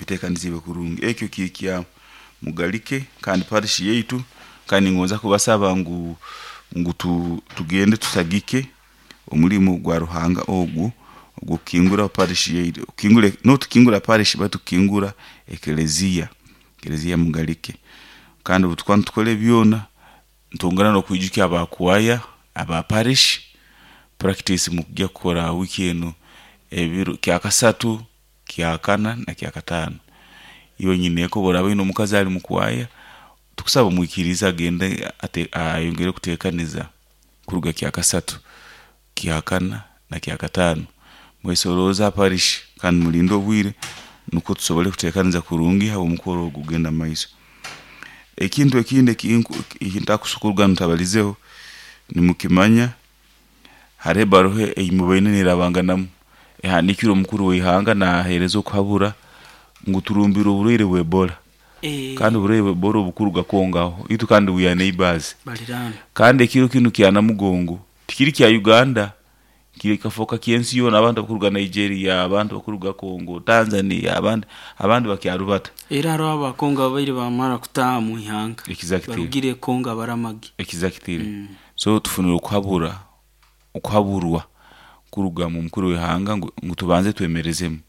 Biteekaniziibwe kurungi. Ekyo kiri kya Mugalike kandi parish yaitu, kandi ningonza kubasaba ngu tugende tusagike omulimo gwa Ruhanga ogu ogw'okukingura parish yaitu. Not kukingura parish baitu kukingura ekeleziya, ekeleziya Mugalike. Kandi obu tukuba nitukora ebi byona, nitwongera n'okwijukya aba kwaya aba parish, practice mukujya kukora wiiki enu ebiro kyakasatu, kyakana na kyakataano. Iwe nyineeka obu oraaba oine omukazi ali mu kwaya, tukusaba omwikirize agende ayongere kuteekaniza kuruga kyakasatu, kyakana na kyakataano. Mwesorooze ha parish kandi mulinde obwire nukwo tusobole kuteekaniza kurungi habw'omukoro ogu kugenda mumaiso. Ekintu ekindi eki ntakuruga ntabalizeho, nimukimanya haroho ebaruha ei mubaire neerabanganamu ehandiikirwe omukuru w'ihanga naaheereza okuhabura ngu turumbire oburwaire bwa Ebola kandi oburwaire bwa Ebola obu kuruga Congo aho itwe kandi we are neighbours. Kandi ekiro kinu kya Namugongo tikiri kya Uganda, kikafooka ky'ensi yoona abantu abakuruga Nigeria, abantu abakuruga Congo, Tanzania, abandi abandi bakyarubata. Era haroho Abakongo ababaire bamara kutaaha mu ihanga. Barugire Congo abaramagi. Exactly. So tufunire okuhabura okuhaburwa kuruga mu mukuru w'ihanga ngu tubanze twemerezemu.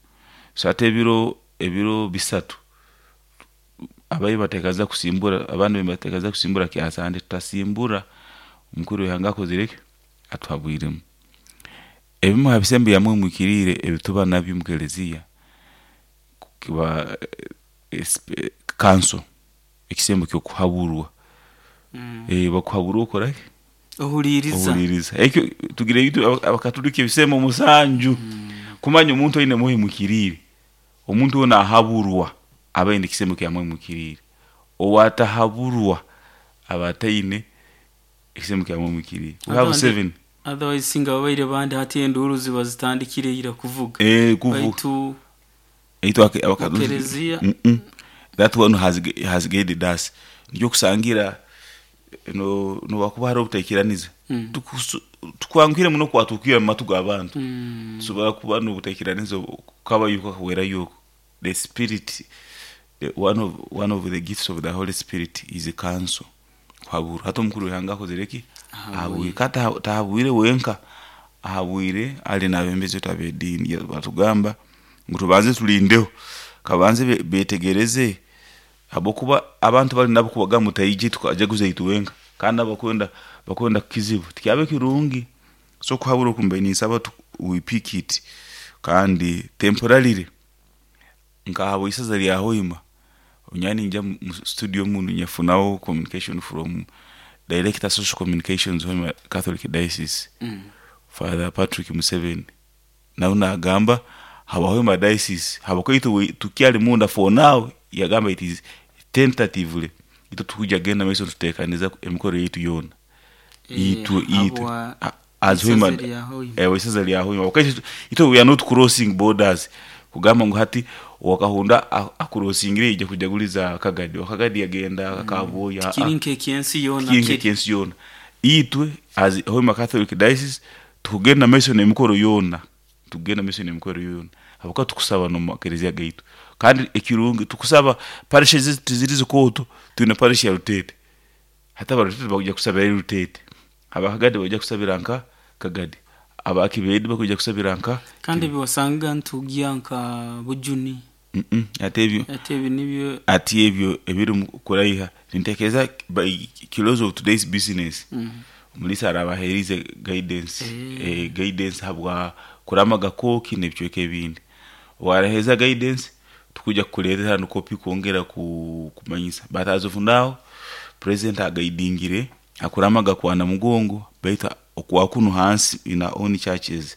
So hati ebiro ebiro bisatu abaire bateekaniza kusimbura abandi nibateekaniza kusimbura kyasande tutasimbura omukuru w'ihanga akozire ki? Atuhabwiremu. Ebimu ha bisembo byamwe mwikiriire ebituba nabyo omu keleziya kiba counsel, ekisembo ky'okuhaburwa. Bakuhabura okora ki? Ohuliiriza. Ohuliiriza. Ekyo tugire itwe Abakatuliki ebisembo musanju kumanya omuntu aine mwoyo muhikiriire. Omuntu weena ahaburwa aba aine ekisembo kya mwoyo muhikiriire. Owaatahaburwa aba ataine ekisembo kya mwoyo muhikiriire. We have seven. Otherwise singa babaire bandi hati enduuru ziba zitandikire ira kuvuga. Kuvuga. Baitu Itwe Abakatuliki Ekereziya. That one has guided us. Nikyo okusangira nobu hakuba haroho obutaikiraniza, tukwanguhire muno kwatukira omu matu g'abantu. Tusobora kuba n'obutaikiraniza kukaba yuko kahwerayo oku. The spirit, one of the gifts of the Holy Spirit is counsel, kuhaburwa. Hati omukuru w'ihanga akozire ki? Ahabwire. Kandi tahabwire wenka, ahabwire ali n'abebembezi baitu ab'ediini. Batugamba ngu tubanze tulindeho, kabanze beetegereze habwokuba abantu bali nabo kubagamba mutaije tukajaguza itwenka kandi nabo bakwenda bakwenda kukizibwa tikyabe kirungi. So okuhabura oku mbaire ninsaba we pick it kandi temporarily nka habw'isaza lya Hoima nyowe ninjya mu studio munu nyafunaho communication from director social communications Hoima Catholic Diocese Father Patrick Museveni nawe naagamba habwa Hoima Diocese habwokuba itwe tukyali munda for now yagamba it is tentatively itwe tukwija kugenda mumaiso nituteekaniza emikoro yaitu yoona itwe itwe Habwa as isaza Hoima lya Hoima. isaza lya Hoima habwokuba itwe we are not crossing borders kugamba ngu hati owakahunda akurosingire yaija kujaguliza Kagadi, owakagadi yagenda Kabwoya. Tikiri nk'ekyensi yoona Tikiri kiri. nk'ekyensi yoona. Itwe as Hoima Catholic Diocese tukugenda mumaiso n'emikoro yoona, tukugenda mumaiso n'emikoro yoona habwokuba tukusaba n'omu makereziya gaitu. Kandi ekirungi tukusaba parish ezaitu tiziri zikooto, twine parish ya Ruteete. Hati aba Ruteete bakwija kusabirayo Ruteete, aba Kagadi baija kusabira nka Kagadi, aba Kibedi bakwija kusabira nka Kandi ebi wasangaga nitugya nka Bujuni. Hati ebyo Hati ebi nibyo. Hati ebyo ebirimu kuraiha nintekereza by close of today's business omuliisa araaba aheerize guidance, guidance habwa kuramaga kooki n'ebicweka ebindi. Obu araheereza guidance tukwija kukuleetera hanu kopi kwongera kumanyisa but as of now president agaidingire hakuramaga kwa Namugongo baitu okwa kunu hansi in our own churches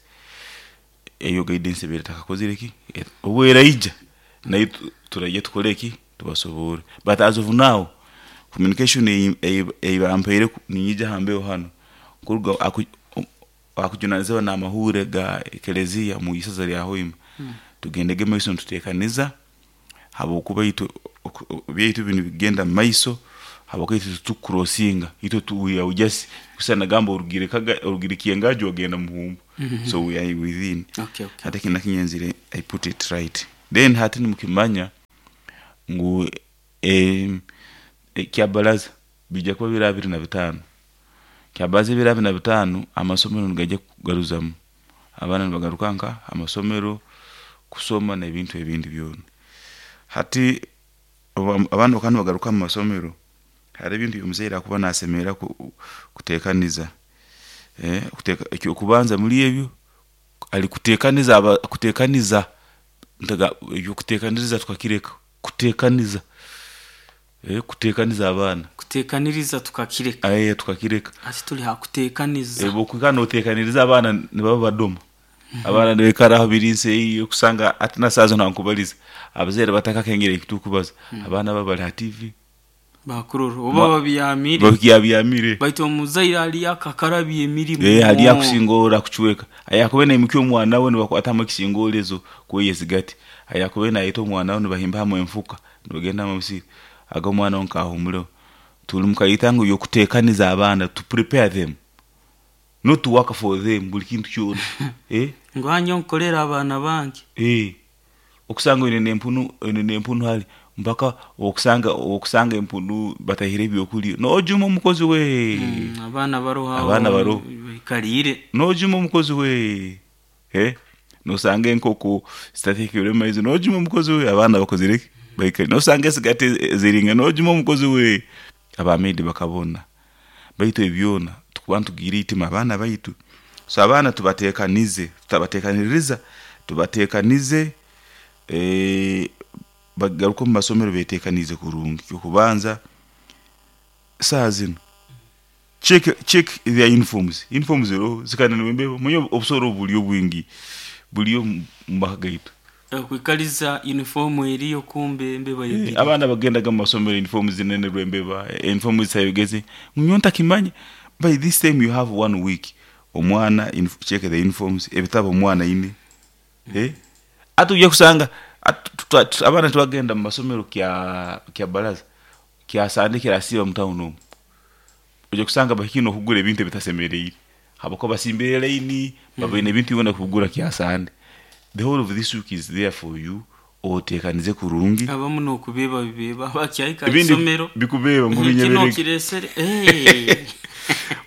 eyo guidance ebaire etakakozire ki? Obu eraija naitwe turaija tukore ki? Tubasoborre but as of now communication ei bampaire niinyija ha mbeho hanu kuruga akujunanizibwa n'amahuure ga ekereziya omu isaza lya Hoima tugendege mumaiso nituteekaniza habwokuba itwe ebyaitu binu nibigenda mumaiso habwokuba itwe titukukurosinga itwe we are just kusana nagamba orugire orugire Kyengaju wagenda Muhumbu so we are within. Hati eki nakinyenzire I put it right. Then hati nimukimanya. Ngu kyabaraza bijja kuba biro 25. Kyabaraza ebiro 25 amasomero nigaija kugaruzamu abaana nibagaruka nka amasomero kusoma n'ebintu ebindi byona. Hati abaana bakaba nibagaruka mu masomero, hariho ebintu omuzaire akuba nasemerra kuteekaniza. Ekyokubanza muli ebyo, ali kuteekaniza kuteekaniza ebyokuteekaniriza tukakireka, kuteekaniza kuteekaniza abaana. Kuteekaniriza tukakireka. Tukakireka. Hati tuli ha kuteekaniza. Obu okwikara nooteekaniriza abaana nibaba badoma. Abaana nibaikara aho biri nsi okusanga hati na saaha zinu ankubaliza abazaire batakakengere eki tukubaza, abaana baba bali ha TV. Bakurora oba babyamire. Babyamire. Baitu omuzaire ali akakarabya emirimu. Ali akusingora kucweka. Ayakuba naimukya omwana we nibakwatamu ekisingolezo kweya esigati. Ayakuba nayeta omwana we nibahimba hamu enfuka nibagenda mu musiri. Aga omwana we nkahumuleho. Tuli mukayeta ngu yokuteekaniza abaana, to prepare them. Not to work for them buli kintu kyona. Ngu hanya nkolera abaana bange. Okusanga oine n'empunu hali mpaka okusanga empunu batahire ebyokulya n'ojuma omukozi we. Abaana baroho abaana baroho baikaliire. N'ojuma omukozi we. Nosanga enkoko zitateekere maizi n'ojuma omukozi we, abaana bakozire ki? Baikaliire. Nosanga esigati ziringa n'ojuma omukozi we. Abamaidi bakabona. Baitu ebyona tukuba nitugiira itima abaana baitu. So abaana tubateekanize, tutabateekaniriza, tubateekanize bagaruke omu masomero beetekaniize kurungi. Ekyokubanza saaha zinu check their uniforms, uniforms ziroho zikananirwe embeho, omanyire obusoro obu buli bwingi buli omu maka gaitu. Kwikaliza uniform eriyo kumbe embeba yegiriire. Abaana bagendaga mu masomero uniform zinenerwe embeba, uniform zitayogeze, nyowe ntakimanya. By this time you have 1 week. Omwana check the uniforms, ebitabo omwana aine. Hati ojja kusanga abaana tibagenda mu masomero kya baraza, kya Sande kirasiiba mu town omu. Ojja kusanga bahikire n'okugura ebintu ebitasemeriire habwokuba basimbire line, babaine ebintu byona kugura kya Sande. The whole of this week is there for you, oteekanize kurungi. Abamu n'okubiiba bibiiba bakyahika isomero. Bikubeeba ngu Kino binyebereke. kiresere.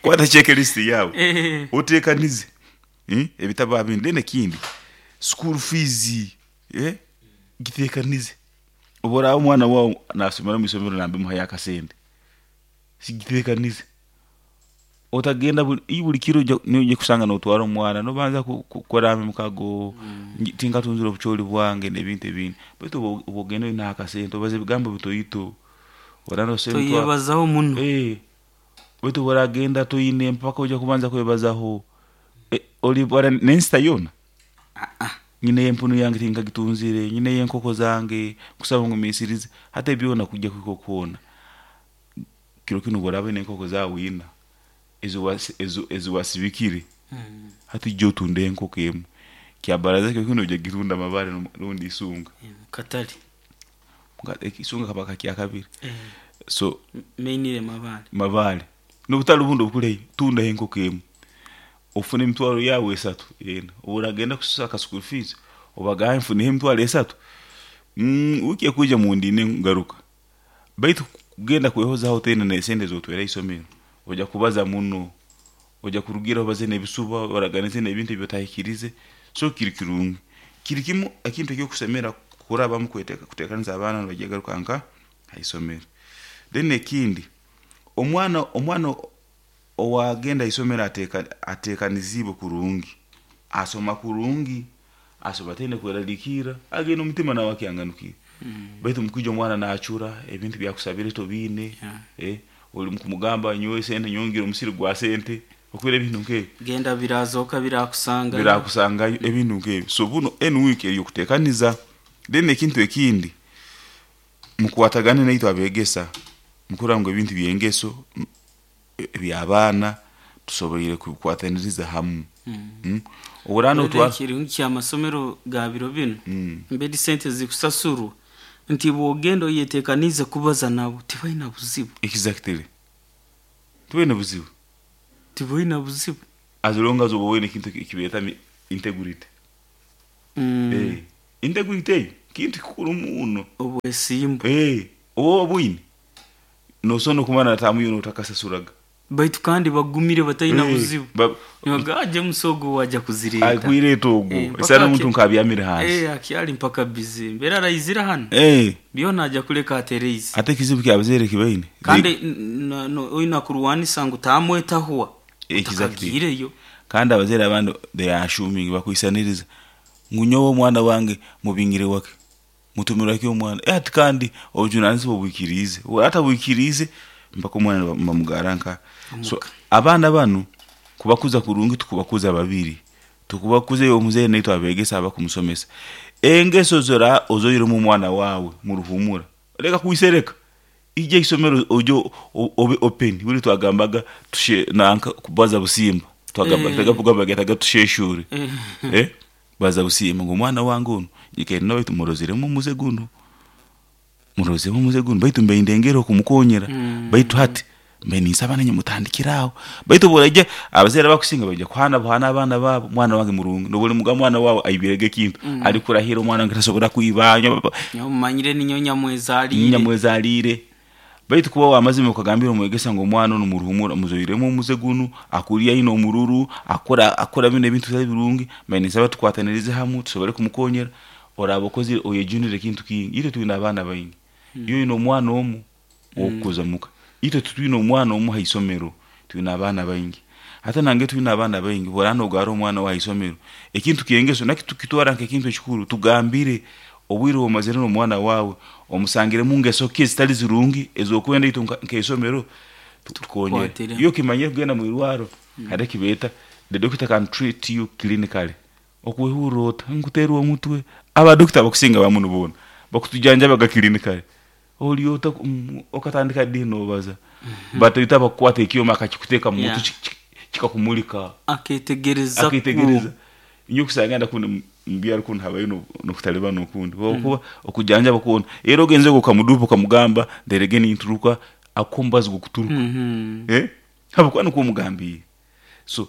Kwata checklist yawe. Oteekanize. Ebitabo abindi. Then ekindi, school fees, giteekanize. Obu oraaba omwana waawe naasomera mu isomero nambi muhayo akasente, sigiteekanize. Otagenda buli kiro noija kusanga nootwara omwana nobanza kukora emikago, tinkatunzire obucoori bwange n'ebintu ebindi. Baitu obu ogenda oine akasente obaza ebigambo bitoito. Toyebazaho muno. Baitu obu oragenda toine mpaka oija kubanza kwebazaho. Olibara n'ensita yoona. Nyine empunu yange tinkagitunzire, nyine enkoko zange, nkusaba ngumiisirize. Hati ebyona kujja kuhika okuhoona. Kiro kinu obu oraaba oine enkoko zaawe ina, ezi wasibikire, hati ija otunde enkoko emu. Kyabaraza kiro kinu ojja kugitunda Mabare rundi Isunga. Katale. Isunga kaba ka kyakabiri. So mainire Mabare. Mabare. N'obutale obundi obukuli tundaho enkoko emu. Ofune emitwaro yawe 3 ena. Obu oragenda kusaka school fees, obagambe nfuneho emitwaro 3. Wiiki ekwija mundinde ngaruka. Baitu kugenda kwehozaho tena n'esente ez'otwera isomero, ojja kubaza muno, ojja kurugira obaze n'ebisuba, oraganize n'ebintu ebi otahikirize. So kiri kirungi. Kiri kimu ekintu ekyokusemera kurabamu kuteekaniza abaana nibajya garuka nka ha isomero. Then ekindi, omwana owagenda isomero ateekaniziibwe kurungi, asoma kurungi, asoma ataine kweraliikirra, agenda omutima nawe akyanganukire. Baitu mukwija omwana naacura, ebintu byakusabire tobiine, oli mukumugamba nyowe sente nyongera omusiri gwa sente, okwera ebintu nk'ebyo. Genda birazoka birakusangayo. Birakusangayo ebintu nk'ebyo. So buno enu week ey'okuteekaniza. Then ekintu ekindi, mukwatagane naitwe abeegesa, mukurora ngu ebintu by'engeso eby'abaana tusoboire kubikwataniriza hamu. Obu otwara kirungi ky'amasomero ga biro binu, mbedi sente zikusasurwa nti bwogenda oyeteekanize kubaza nabo tibaina buzibu. Exactly. Tibaina buzibu. Tibaina buzibu. As long as oba oine ekintu ekibeeta integrity. Integrity eyo. Kintu kikuru muno. Obwesimbu. Oba obwine nosobora nokumara natamu yoona otakasasuraga. Baitu kandi bagumire bataina buzibu. Nibaga James ogu wajja kuzireeta. Akwireta ogu. Esana omuntu nkabyamire hansi. Akyali mpaka busy. Mbeera araizira hano. Byona ajja kuleka atereize. Ate ekizibu kyabazaire kibaine. Kandi oina kurwanisa ngu tamwetahwa. Utakagiireyo. Kandi abazaire abandi they are assuming, bakwisaniriza ngu nyowe omwana wange mubingire wake. Mutumira ki omwana? Ati kandi obujunanizibwa obwikiriize. Atabwikiriize mpaka omwana bamugara nka. So abaana banu kubakuza kurungi tukubakuza babiri. Tukubakuza iwe omuzaire naitwe abegesa abakumusomesa. Engeso zora ozoiremu omwana wawe muruhumura. Leka kuisereka. Ije isomero ojo obe open. Buli twagambaga tushe nanka kubaza busimba. Twagamba tagavuga getaga tusheshure. Baza busimba ngo omwana wange ono nyikaire nawe tumurozeremu omuze guno. Murozeremu omuze guno baitu mbe ndengera okumukonyera. Baitu hati mbe ninsaba nanye mutandikiraho. Baitu buraje abazaire bakusinga baje kuhana buhana abaana babo mwana wange murungi. Nobuli muga mwana wawe aibirege kintu. Ali kurahira omwana wange tasobora kuibanya. Nyamanyire ninyo nyamwezalire. Nyamwezalire. Baitu kuba wamazima ukagambira omwegesa ngo omwana ono muruhumura muzoiremu omuze guno akulia ino omururu akora bino ebintu bitali birungi mbe ninsaba tukwatanirize hamwe tusobole kumukonyera. Oraba okozire oyejunire ekintu kingi. Itwe twine abaana baingi. Iyo ino omwana omu okukuza muka. Itwe tutwine omwana omu haisomero twine abaana baingi. Hata nange twine abaana baingi borana ogara omwana wa haisomero. Ekintu kiengeso nakitwara nk'ekintu ekikuru tugambire obwire omazire n'omwana wawe omusangire mu ngeso ki ezitali zirungi ezokwenda itwe nk'eisomero tukonyere. Iyo kimanye kugenda mu irwaro hare kibeta the doctor can treat you clinically. Okwehurra ota nkuterwa omutwe aba doctor bakusinga bamuno bona bakutujanjabaga clinically. Oli ota okatandika dino obaza batoita bakukwata ekyoma akakikuteeka mu mutwe kikakumulika aketegereza inyo kusanga ndakunda mbyaro kundi habayo no kutalibana okundi kuba okujanja bakona era ogenze ukamudupa ukamugamba nderege ninturuka akombaza gukuturuka habukwa nuko omugambiye. So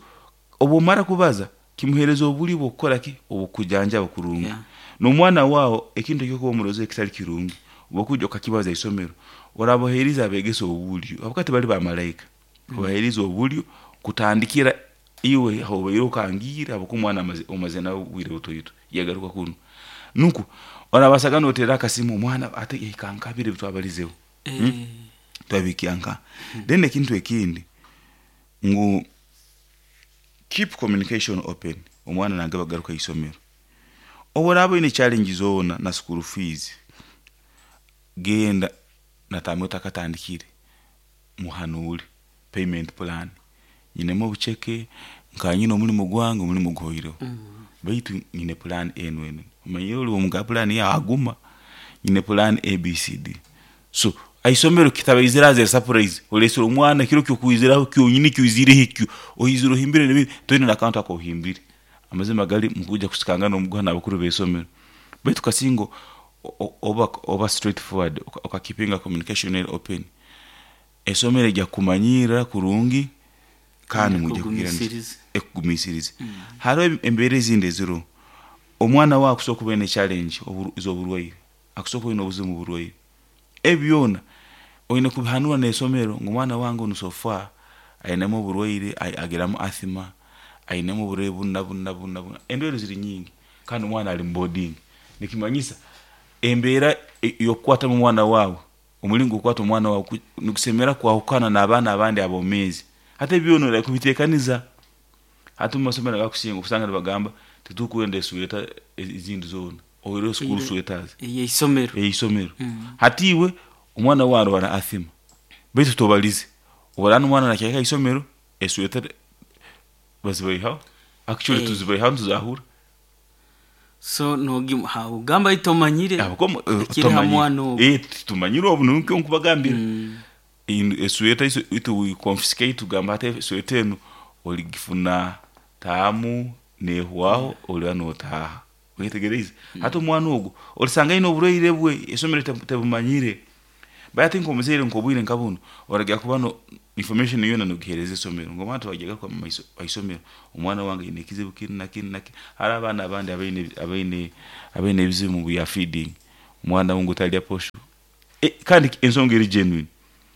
obumara kubaza kimuhereza obuli bwokukora ki obukujanja bakurungi. N'omwana wao ekintu ekyo omuroze ekitali kirungi obukujja okakibaza isomero orabohereza abegesa obulyo abakati bali ba malaika obahereza obulyo kutandikira iwe hobairo kangira abakumwana omaze nawe bwire butoyito yagaruka kuno nuko orabasaga notera akasimu omwana ate yikankabire bitwabalizeho twabikianka. Then ekintu ekindi ngu keep communication open omwana nange bagaruka isomero oborabo ine challenge zona na school fees genda natamwe takatandikire muhanure payment plan nyinemo obucheke nkanyina omulimo gwange omulimo guhoireho baitu nyine plan eno eno omanyire oli omuga plan ya aguma nyine plan ABCD. So aisomero kitabaizira surprise olesera omwana kiro kyokuiziraho kyonyini kyuzire hikyo oiziro himbire nebi toyina na account ako himbire amazima gali mukuja kusikanga n'omuguha n'abakuru b'esomero baitu kasingo oba straightforward okakipinga communication open esomero ejja kumanyira kurungi kandi mujja kugira ekugumisiriza. Hariho embeera ezindi eziro omwana wawe akusobola kuba ne challenge ez'oburwaire akusobola kuba n'obuzibu mu burwaire ebyona oyine kubihanura n'esomero ngu omwana wange ono so far ainemu oburwaire agiramu asthma ainemu oburwaire buna buna buna buna endwaire ziri nyingi kandi omwana ali mu boarding nikimanyisa embeera y'okukwatamu omwana wawe omulingo okukwata omwana wawe nikusemera kwahukana n'abaana abandi abomezi hata ebyona ora kubitekaniza. Hata mu masomero agakusinga okusanga nibagamba titukwenda esweta ezindi zona oiro school sweaters ey'isomero ey'isomero. Hati iwe omwana wawe arwara asthma baitu tobalize orana omwana nakyaka isomero esweta bazibaihaho actually tuzibaihaho tuzahura. So ugamba itomanyire tumanyire obu nuko nkubagambira esweta itu we confiscate tugamba ate sweta eno oligifuna taamu nehwaho oli notaha wetegereze. Hata omwana ogwo olisanga ino oburwaire bwe esomero tebumanyire bayati nkomuzeire nkobwire nkabuno oragira kuba Information yoona nogihereza isomero ngu omwana tibajya mumaiso haisomero, omwana wange aine ekizibu kinu na kinu na kinu. Haro abaana abandi abaine ebizibu mu bya feeding, omwana ngu talya posho. Kandi ensonga eri genuine.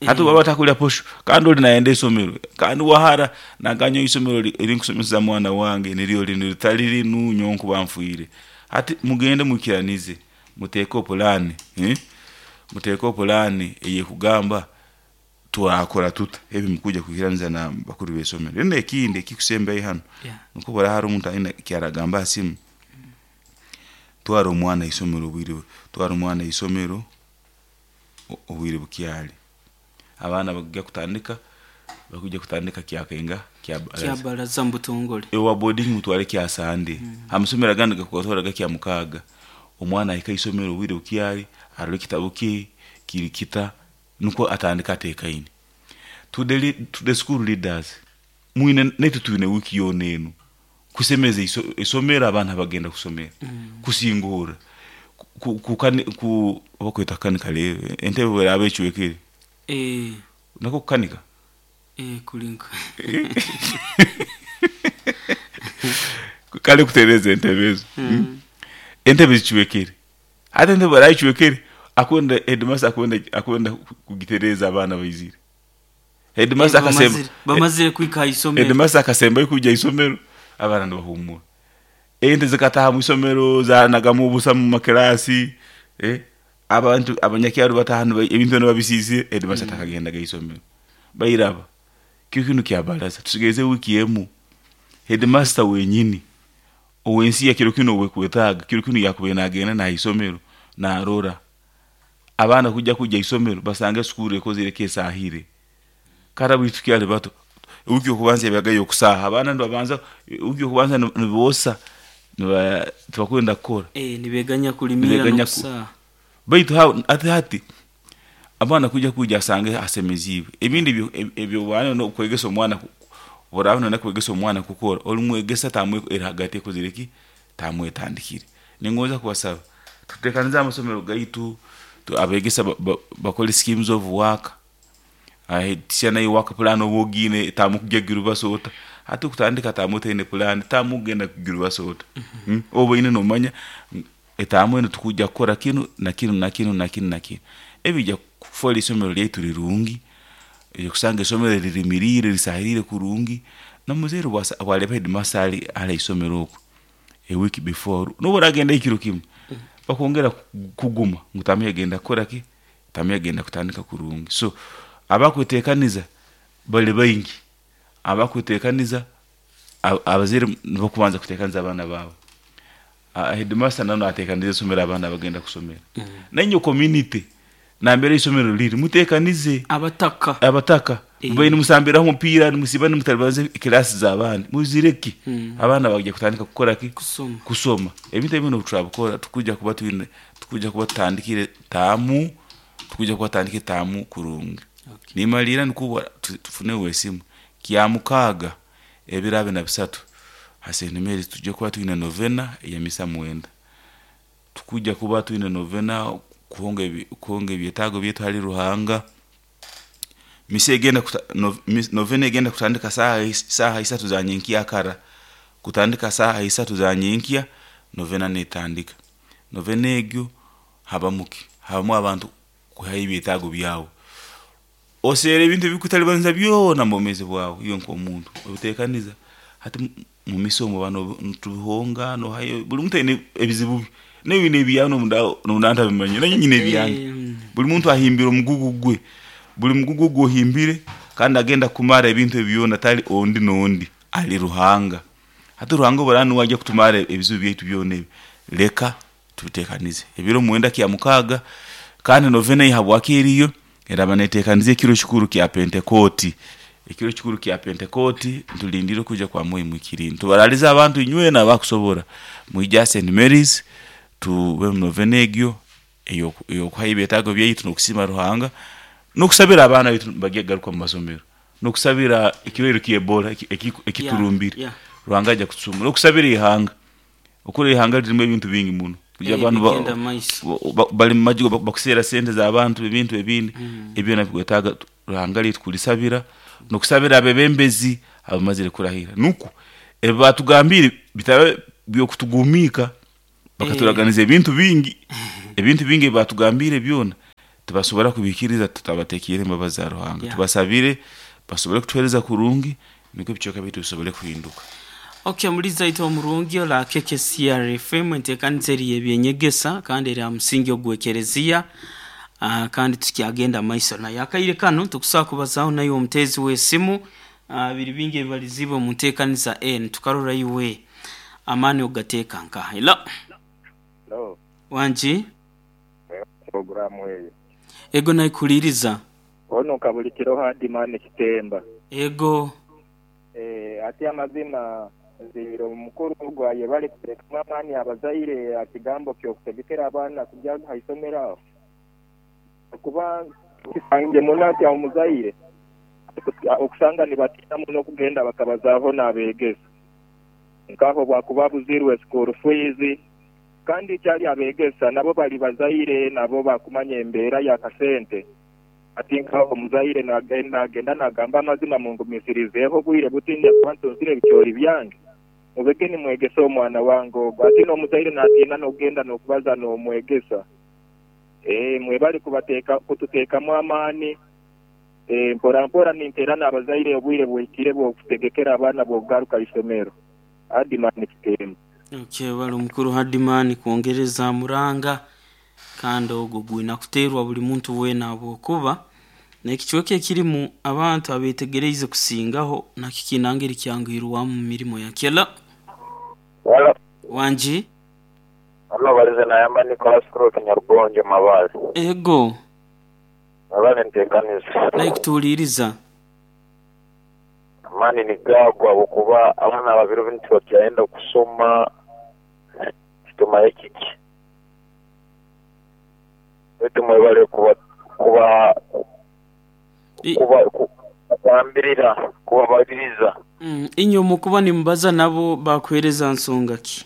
Hati obu atakulya posho kandi oli nayenda isomero, kandi wahara naganya isomero erinkusomesa mwana wange niryo linu, ritali linu nyowe nkuba nfiire. Hati mugende mwikiranize, muteekeho pulaani, muteekeho pulaani eyekugamba twakora tuta ebi mukuija kwikiraniza na bakuru b'isomero. Then ekindi ekikusembayo hanu, nukwo haro omuntu aine ekyaragamba ha simu, twara omwana haisomero obwire, twara omwana haisomero obwire bukyali. Abaana bakujya kutandika, bakujya kutandika kyakainga kya baraza. Kya baraza mu butongole. Owa boarding mutware kya Sande. Amasomero agandi gakubatwaraga kya mukaaga. Omwana ahika haisomero obwire bukyali, arora ekitabu kye kiri kita, nukwo atandika atekaine. To the school leaders, mwine naitwe twine wiiki yoona enu kusemeza isomero abaana bagenda kusomera, kusingorra, bakweta kukanika leero, entebe bweraba ecwekere, nakwo kukanika? Kulinka. Kale kutereza entebe ezo. Entebe zicwekere. Hati entebe bweraba ecwekere, akwenda headmaster akwenda kugitereza abaana baizire. Headmaster akasemba bamazire kwika haisomero. Headmaster akasembayo kwijja haisomero, abaana nibahumura. Ente zikataha mwisomero zanagamu obusa mu makirasi, abantu abanyakyaro bataha ebintu nibabisiisire, headmaster takagendaga haisomero. Bairaba kiro kinu kya baraza tusigaize wiiki emu. Headmaster wenyini owensi ya kiro kinu owekwetaaga, kiro kinu yakubaire nagenda nahaisomero narora abaana kujja haisomero basange esukuru ekozire ki, esahire. Kara baitu tukyali bato, wiiki yokubanza yabaga yokusaaha, abaana nibabanza wiiki yokubanza niboosa, tibakwenda kukora. Nibeganya kulimira n'okusaaha. Baitu hati abaana kujya asange hasemeziibwe. Ebindi ebyo nokwegesa omwana, oraaba noyenda kwegesa omwana kukora, olimwegesa tamu eri hagati ekozire ki, tamu etandikire. Ningonza kubasaba tutekanize amasomero gaitu, abegesa bakole schemes of work, teacher naiwe work plan oba ogiine tamu kugya kugirubaso ota. Hati okutandika tamu otaine pulaani, tamu kugenda kugirubaso ota. Oba oine nomanya etamu enu tukujja kukora kinu na kinu na kinu na kinu na kinu. Ebi bijja kufoora isomero lyaitu rirungi, kusanga isomero lirimiriire lisahiriire kurungi, n'omuzaire obwaleeba headmaster ali haisomero oku a week before, nobu oragendayo ekiro kimu, bakwongera kuguma ngu tamu egenda kukora ki, tamu egenda kutandika kurungi. So abakwetekaniza bali baingi, abakwetekaniza abazaire nibo bakubanza kutekaniza abaana baabo. Headmaster nawe natekaniza isomero abaana bagenda kusomera. Nainywe community nambere isomero liri mutekanize. Abataka. Abataka. Mubaire nimusambiraho omupiira, nimusiiba nimutalibaniza ekilasi z'abandi, muzireke. Abaana bagya kutandika kukora ki? Kusoma. Kusoma. Ebintu ebi obu turabikora tukujja kuba twine, tukujja kuba tutandikire taamu, tukujja kuba tutandikire taamu kurungi. Nimaliira nukwo tufune wesimu. Kya mukaaga ebiro abiri na bisatu ha St. Mary's tujja kuba twine novena ey'emisa 9. Tukujja kuba twine novena kuhonga ebyetaago byaitu hali Ruhanga. Misa egenda novena egenda kutandika saaha isatu za nyenkyakara. Kutandika saaha isatu za nyenkya, novena netandika. Novena egyo habamu ki? Habamu abantu kuhayo ebyetaago byabo. Oseera ebintu ebikutalibaniza byona mu bwomeezi bwawe iwe nk'omuntu, obitekaniza. Hati mu misa omu oba nitubihonga, nohayo, buli muntu aine ebizibu bye. Naiwe oine ebyawe nomunda ntabimanyire, nanye nyine ebyange. Buli muntu ahimbire omugugu gwe, buli mugugu ogu ohimbire kandi agenda kumara ebintu ebi byona tali ondi n'ondi, ali Ruhanga. Hati Ruhanga obu araaba nuwe ajja kutumara ebizibu byaitu byona ebi, leka tubitekanize. Ebiro 9 kya mukaaga, kandi novena eyi habwaki eriyo, eraba netekaniza ekiro kikuru kya Pentekooti. Ekiro kikuru kya Pentekooti nitulindiire okwija kwa Mwoyo Muhikiriire. Tubaralize abantu inywena abakusobora, mwije ha St. Mary's tube mu novena egyo ey'okuhayo ebyetaago byaitu n'okusiima Ruhanga, n'okusabira abaana baitu nibagya kugaruka mu masomero, n'okusabira ekirwaire kya Ebola ekiturumbire. Ruhanga ajja kutusumura, n'okusabira ihanga. Okuri ihanga lirimu ebintu bingi muno. Abantu Bigenda maiso. bali mu majigo bakuseera sente z'abantu, ebintu ebindi, ebyo byona bikwetaaga Ruhanga lyaitu kulisabira n'okusabira abebembezi abamazire kurahira nukwo ebi batugambire bitaba by'okutugumiika bakaturaganiza ebintu bingi, ebintu bingi ebi batugambire byona tibasobora kubihikiriza tutabateekiire embabazi za Ruhanga. Tubasabire basobole kutuheereza kurungi nukwo ebicweka byaitu bisobole kuhinduka. Okay, muliza itwe omurungi ola KKCR FM, enteekaniza eri y'ebyenyegesa kandi eri ha musingi ogw'ekereziya, kandi tukyagenda maiso nayo. Akaire kanu tukusobola kubazaho naiwe omuteezi w'esimu, biri bingi ebibaliziibwe omu nteekaniza enu, tukarora iwe amaani ogateeka nkaha. Hello. Hello. Wangi? Programu eyo. Ego naikuhuliriza. Ono Kabulikiro Hardman Kitemba. Ego. Eeh ati amazima nziire omukuru ogwo ayebale kuteekamu amaani abazaire aha kigambo ky'okutegekera abaana kugya aha isomero aho kuba kisangire muno ati omuzaire okusanga nibatiina muno okugenda bakabazaaho n'abeegesa nkaho bwakuba abuzirwe school fees kandi ekyali abeegesa nabo bali bazaire nabo bakumanya embeera y'akasente. Ati nkaho omuzaire nagenda nagamba amazima mungumisirizeeho obwire buti ndakuba ntunzire ebicoori byange mubege nimwegesa omwana wange ogwo. Ati n'omuzaire natiina n'okugenda n'okubaza n'omwegesa. Eeh mwebale kubateeka kututeekamu amaani. Eeh mpora mpora ninteera n'abazaire obwire buhikire bw'okutegekera abaana bw'okugaruka isomero. Hardman Kitemba. Okay, webale omukuru Hardman kwongereza muranga kandi ogwo gwina kuteerwa buli muntu weena habwokuba n'ekicweka ekirimu abantu abeetegereize kusingaho nakyo kiine ngeri kyanguhirwamu mu mirimo yakyo. Hello. Hello. Wangi? Hano balize nayamba Nicholas Kuroke Nyarugonjo Mabaale. Ego. Webale ntekaniza. Naikutuhuliiriza. Amaani nigagwa habwokuba abaana ba biro binu tibakyayenda kusoma titumanya kiki. Baitu mwebale kuba kuba kuba kubagambirira kubabaliriza. Inywe omukuba nimubaza nabo bakuheereza nsonga ki?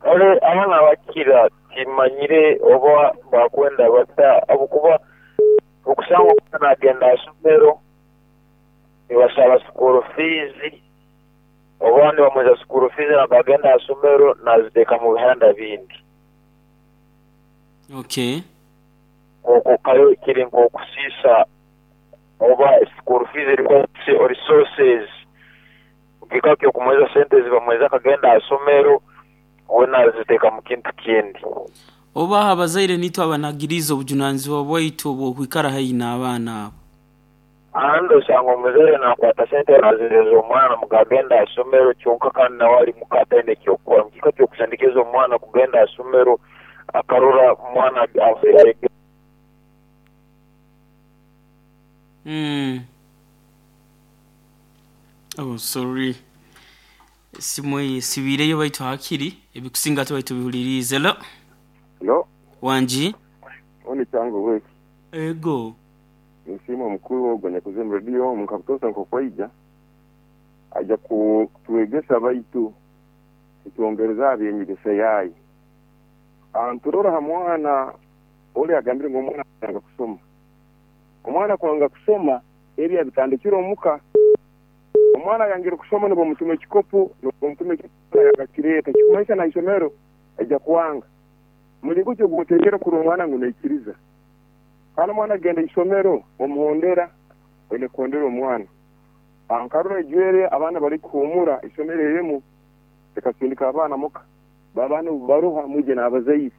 Kale abaana abakira timanyire oba bakwenda bata habwokuba okusanga omwana nagenda ha isomero nibasaba school fees oba nibamuheza school fees naba agenda ha isomero naziteeka mu bihanda bindi. Okay. Okwo kale kiri nk'okusiisa oba school fees eriku resources mukika ky'okumuheza sente ezibamuheza akagenda ha isomero we naziteeka mu kintu kindi. Oba abazaire nitwe abanagiriize obujunanizibwa bwaitu obw'okwikara haihi n'abaana abo? Ahandi osanga omuzaire nakwata sente nazihereza omwana muga agenda ha isomero kyonka kandi nawe ali muka ataine kyokukora. Mukika ky'okusindikiza omwana kugenda ha isomero akarora omwana ayege. Oh sorry. Esimu eyo esibiireyo baitu hakiri ebikusinga tubaire tubihuliriize. Hello. Hello. Wangi? Oni Kyango West. Ego. Ninsiima omukuru ogu anyakuza omu rediyo omu nka butoosa nk'oku aija, aija kutwegesa baitu kutwongereza aha by'enyegesa yaayo. Niturora ha mwana oli agambire ngu omwana kwanga kusoma. Omwana kwanga kusoma ebi abitandikira omuka. Omwana ayangire kusoma nibamutuma ekikopo, nibamutuma ekikopo yanga kireeta, ekikumanyisa na isomero aija kwanga. Mulingo ki ogu kurora omwana ngu naikiriza? Kandi omwana agenda isomero omuhondera, oine kuhondera omwana. Nkarora ejwere abaana bali kuhumura isomero erimu likasindika abaana muka. Abaana obu baruha mwije n'abazaire.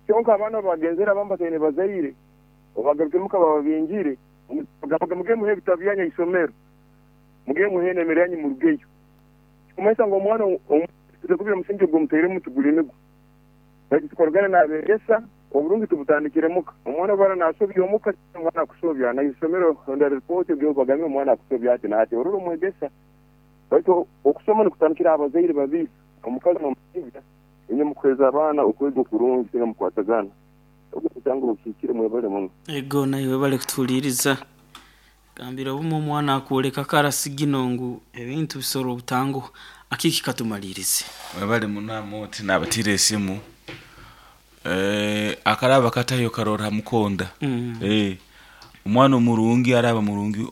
Kyonka abaana obu bagenzere abamu bataine bazaire, obu bagarukire muka bababingire, bagambaga mugende muhe ebitabu byanyu ha isomero, mugende muhe n'emere yanyu murugeyo. Kikumanyisa ngu omwana kubira omusingi ogumutairemu tiguli nigwo. Baitu tukoragana n'abeegesa, oburungi tubutandikire muka. Omwana obu ara nasobya omuka, omwana akusobya, na isomero honda ripooti bagambire omwana akusobya ati n'ati, orora omwegesa. Baitu okusoma nikutandikira abazaire babiri, omukazi n'omusaija, inywe mukuheeza abaana okwega okurungi singa mukwatagana. Ogu omusango gukihikire mwebale muno. Ego naiwe webale kutuhuliiriza. Gambira obumu omwana akwoleka kara sigino ngu ebintu bisobora obutanguha. Akiki katumaliirize. Webale muno Amooti nabatiire esimu. Akaraba katayo karora ha mukonda. Omwana omurungi araba murungi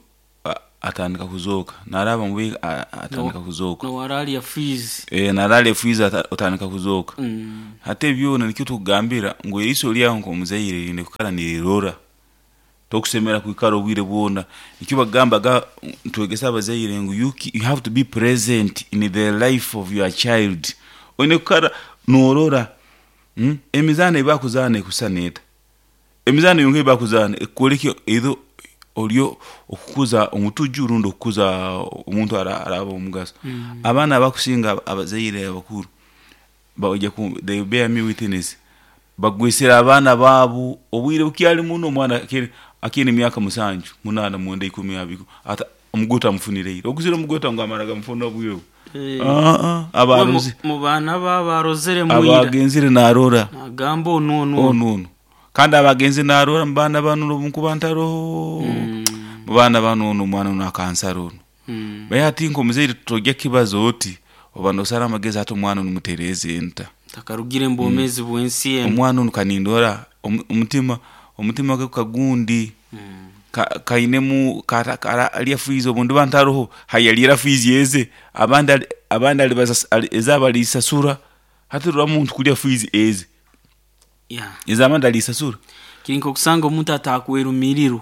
atandika kuzooka, naraba mubi atandika kuzooka. Nowaralya fees. Narara efiizi otandika kuzooka. Hati ebyona nikyo tukugambira ngu eriiso lyawe nk'omuzaire riine kukara nirirora, tokusemera kwikara obwire bwona. Nikyo bakugambaga nitwegesa abazaire ngu you have to be present in the life of your child. Oine kukara norora emizaano ei bakuzaana ekusisana eta, emizaano yonka ei bakuzaana ekukwoleka either ori okukuza omutuju rundi okukuza omuntu araba w'omugaso. Abaana abakusinga abazaire abakuru baija they bear me witness, bagwisire abaana baabu obwire bukyali muno, omwana akiine emyaka 7, 8, 9, 10, 20, omugoto amufunire ira. Oguzire omugoto ngu amara gamufuna obwire obu? Abarozi Mu baana ba barozere mwira abagenzire narora nagamba onu onu onu onu, kandi abagenzi narora mu baana banu obu nkuba ntaroho, mu baana banu onu omwana onu akansara onu. Baitu hati nk'omuzaire tojya kibaza oti oba nosara amagezi, hati omwana onu mutereeze nta? Takarugire mu bwomeezi bw'ensi enu. Omwana onu kanindora omutima gwe kagundi kainemu alya fiizi obu ndiba ntaroho hayaliira fiizi eze, abandi ezaabo alizisasura. Hati rora omuntu kulya fiizi eze, ez'abandi alizisasura. Kiri nk'okusanga omuntu atakwerumirirwa.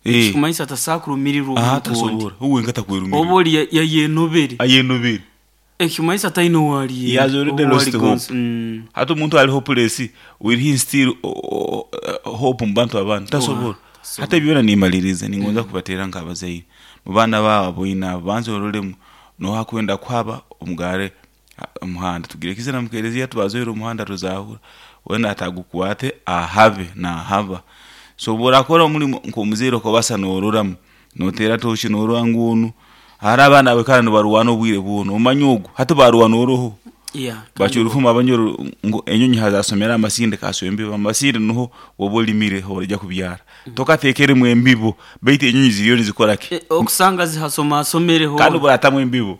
Ekikumanyisa atasobola kurumirirwa omuntu ondi. Tasobora, uwe wenka takwerumirira. Oba oli yayenobere. Ayenobere. Ekikumanyisa ataine owali. He has already lost hope. Hati omuntu ali hopeless, will he instill hope mu bantu abandi? Tasobora. Hati ebyona nimaliriza ningonza kubateera nk'abazaire mu baana baabo aboine abo, banza orolemu noha kwenda kuhaba omugare omuhanda. Tugire ekizina mu kereziya tubazoire omuhanda tuzahura, wena atagukwate ahabe nahaba. So obu orakora omulimo nk'omuzaire okabasa nororamu, noteera tooci norora ngu onu, haro abaana abaikara nibarwana obwire bwona, omanye ogu hati barwana oroho. Bacwa orufumo abanyoro ngu enyonyi hazasomera amasinde kaswa embibo, amasinde nuho oba olimire horaija kubyara. Tokateekeremu embibo baitu enyonyi ziriyo nizikora ki? Okusanga zihasomasomereho. Kandi obu oratamu embibo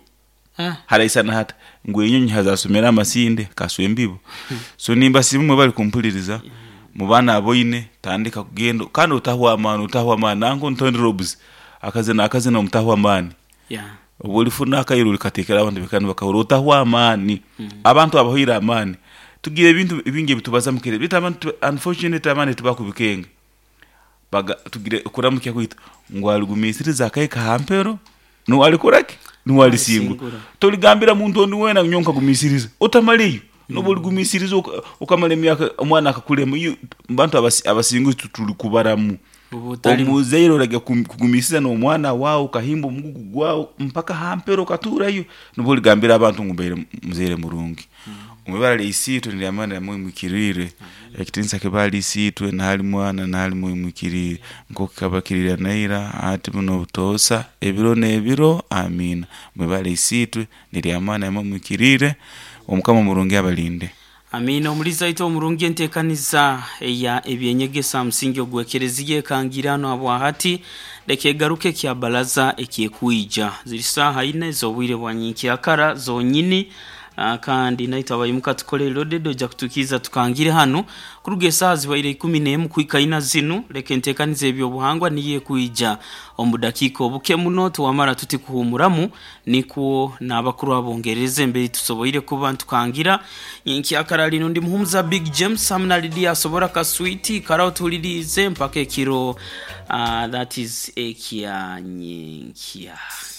haraisana hata ngu enyonyi hazasomera amasinde kaswa embibo. So nimbasiima imwe bari kumpuliriza mu baana aboine, tandika kugenda kandi otahwa amaani, otahwa amaani. Nanka Tony Robs akazina akazina omutahwa amaani. Obu olifuna akaire olikateekera abantu baikara nibakahurra, otahwa amaani. Abantu abahoire amaani, tugira ebintu bingi ebitubaza mu kere, baitu abantu unfortunately abandi tibakubikenga. Tugire okuramukya kwaitu ngu aligumiisiriza akahika ha mpero nuwe alikora ki? Nuwe alisingura. Toligambira muntu ondi weena ngu nyowe nkagumiisiriza, otamaleyo. Nobu oligumiisiriza okamara emyaka omwana akakulema, bantu abasinguzi tituri kubaramu. Omuzaire orajya kugumiisiriza n'omwana waawe okahimba omugugu gwawe mpaka ha mpero okatuurayo, nubwo oligambira abantu ngu mbaire muzaire murungi. Omu ibara lya Isiitwe n'erya Mwana n'erya Mwoyo Muhikiriire, ekitiinisa kibe hali Isiitwe na hali Mwana na hali Mwoyo Muhikiriire, nk'oku kikaba kiri ira na ira, hati bunu obutoosa, ebiro n'ebiro. Amiina. Omu ibara lya Isiitwe n'erya Mwana n'erya Mwoyo Muhikiriire, Omukama omurungi abalinde. Amiina. Omuliza waitu omurungi, enteekaniza eya ebyenyegesa musingi ogw'ekereziya ekangirano habwahati leka egaruke ekya baraza ekyekwija ziri saaha ina ez'obwire bwa nyenkyakara zonyini. Kandi naitwe abaimuka tukole loaded ojja kutukiiza tukangire hanu kuruga esaaha zibaire 11 kuhika 4 zinu. Leka enteekaniza ebyobuhangwa niyo ekwija omu dakiika obuke muno tuwamara tuti kuhumuramu, nikwo n'abakuru abongerereza emberi tusoboire kuba ntukangira nyenkyakara lino. Ndi muhumuza Big James hamu na Lydia asobora kaswiti karaho tuhuliriize mpaka ekiro that is ekya nyenkya.